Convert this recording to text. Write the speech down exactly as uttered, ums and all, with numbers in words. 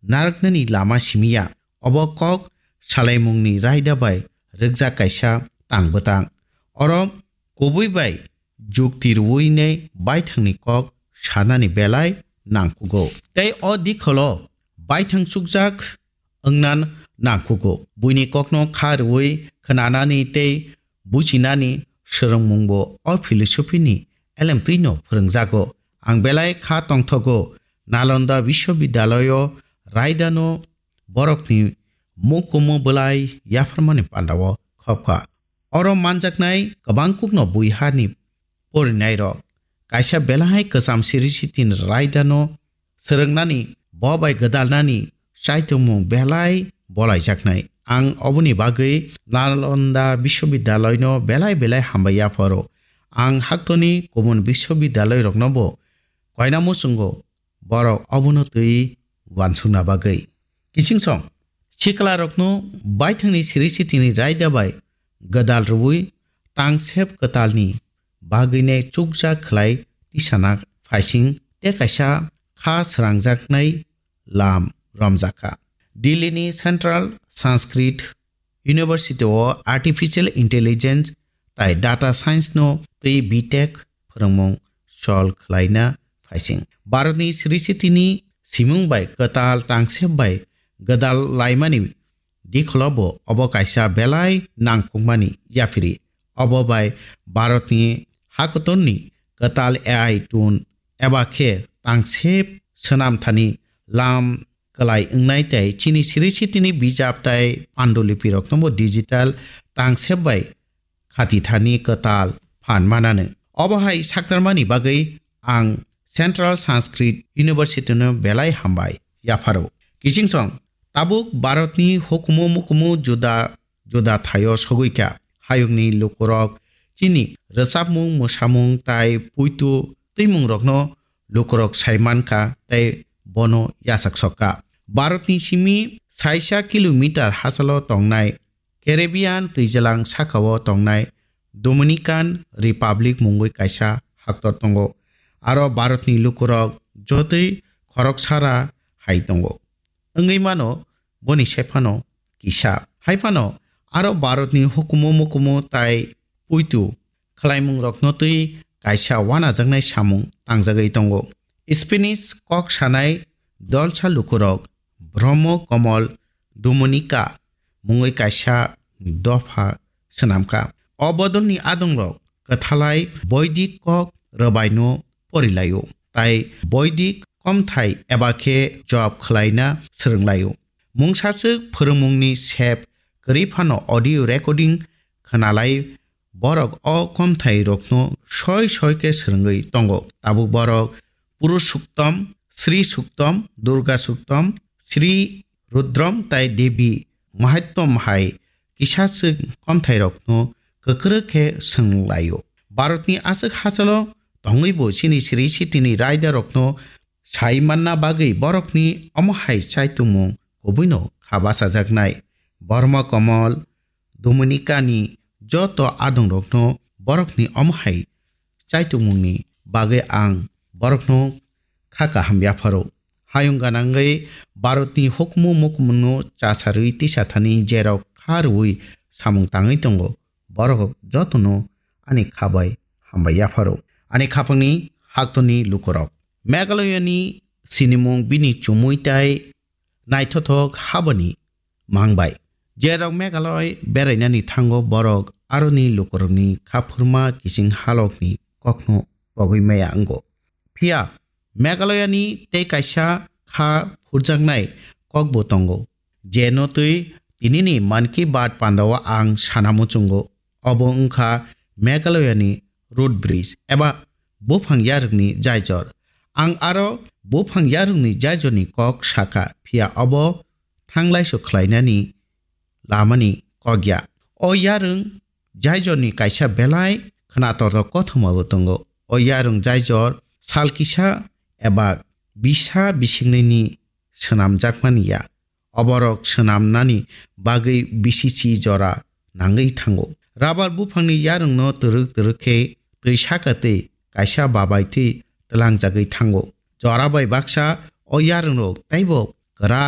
narwknani lama simi ya. Obo kok salaimungni raida bai rwkjak kaisa tang bwtang. Oro kubui bai jukti rwui nei baithangni kok sanani belai nangkugo. Tei o dikholo baithang chukjak wngna nangkugo. Buini kokno kha rwui khwnanani tei bujinani swrwngmungbo o philosophy ni elemtwino phwrwngjago. Ang belai kha tongthogo, Nalanda Biswabidyalayo raidano borokni mukumu bwlai yapharmani pandao khopkha. Oro manjaknai kwbangkukno bui hani porinairok kaisa belai kwcham siri sitini raidano swrwngnani, bo bai gwdalnani chaitungmung belai bolaijaknai. Ang oboni bagwi Nalanda Biswabidyalaino belai belai hambai yapharo. Ang haktoni kubun biswabidyalairoknobo koina muchungo borok obono twi uansukna bagwi. Kichingsong siklarokno baithangni siri sitini raida bai gwdal rwui tangsep kwtalni bagwinai chukjak khlai tisana phaising tei kaisa kha srangjaknai lam romjakha. Delhi ni Central Sanskrit University o Artificial Intelligence tai Data Science no tei B Tech phwrwngmung sol khlaina phaising. Bharatni siri sitini simung bai kwtal tangsep bai gwdal laimani dikholo bo obo kaisa belai nangkukmani yaphiri. Obo bai Bharatni hakotorni kwtal A I tool eba khe tangsep swnamthani lam kwlai wngnai tei chini siri sitini bijap tai pandulipiroknobo digital tangsep bai khatithani kwtal phan mananw. Obo hai saktarmani bagwi ang Central Sanskrit University no belai hambai yapharo. Kichingsong tabuk Bharatni hukumu mukumu juda juda thaio sogwi kha. Hayungni lukurok chini rwchapmung, mwsamung tai puitu twimungrokno lukurok sai mankha tei bono yachak sokha. Bharatni simi saisa kilometer hachalo tongnai Caribbean twijlang sakao tongnai Dominican Republic mungwi kaisa haktor tongo. Aro Bharatni lukurok jotoi khoroksara hai tongo. Wngwi mano boni sephano kisa. Haiphano aro Bharatni hukumu mukumu tai puitu khlaimungrokno twi kaisa wanajaknai samung tangjagwi tongo. Spanish kok sanai dolsa lukurok Brahmo Komol Dominica mungwi kaisa dopha swnamkha. O bodolni adongrok kwthalai Boidik kok rwbaino porilaio, tai Boidik komthai eba khe job khlaina swrwnglaio. Mungsaswk phwrwngmungni sep kwrwi phano audio recording khwnalai borok o komthai rokno soi soi khe swrwngwi tongo. Tabuk borok Purusuktom, Sri Suktom, Durga Suktom, Sri Rudrom tai Devi Mahattom hai kisa swk komthai rokno kwkrwk khe swrwnglaio. Bharatni aswk hachalo tongwi bo chini siri sitini raida rokno sai manna bagwi borokni omo hai chaitungmung kubuino kha bachajaknai. Borma Komol, Dominicani joto adongrokno borokni omo hai chaitungmungni bagwi ang borokno kha kaham yapharo. Hayung ganangwi Bharatni hukumu mukumungno chasarwi tisathani jerok kha rwui samung tangwi tongo, borok jotono ani kha bai hambai yapharo. Ani khapangni haktoni lukurok. Meghalayani sinimung bini chumui tai naithothok habani mangbai. Jerok Meghalaya berainani thango borok aroni lukurokni khaphurma kiching halokni kokno pogwi maya wngo. Phiya Meghalayani tei kaisa kha phurjaknai kokbo tongo, jeno twi tinini Mann Ki Baat pandao ang sana muchungo. Obo wngkha Meghalayani root bridge eba buphang yarwkni jaijor. Ang aro buphang yarwkni jaijorni kok sakha, phiya obo thanglaiso khlainani lamani kok ya. O yarwng jaijorni kaisa belai khwnatortok kothomabo tongo. O yarwng jaijor sal kisa eba bisa bisingnini swnamjakmani ya. Oborok swnamnani bagwi bisichi jora nangwi thango. Rabar buphangni yarwngno twrwk twrwk khe twi saka twi kaisa babai twi twlangjagwi thango. Jora bai baksa o yarwngrok teibo kwrak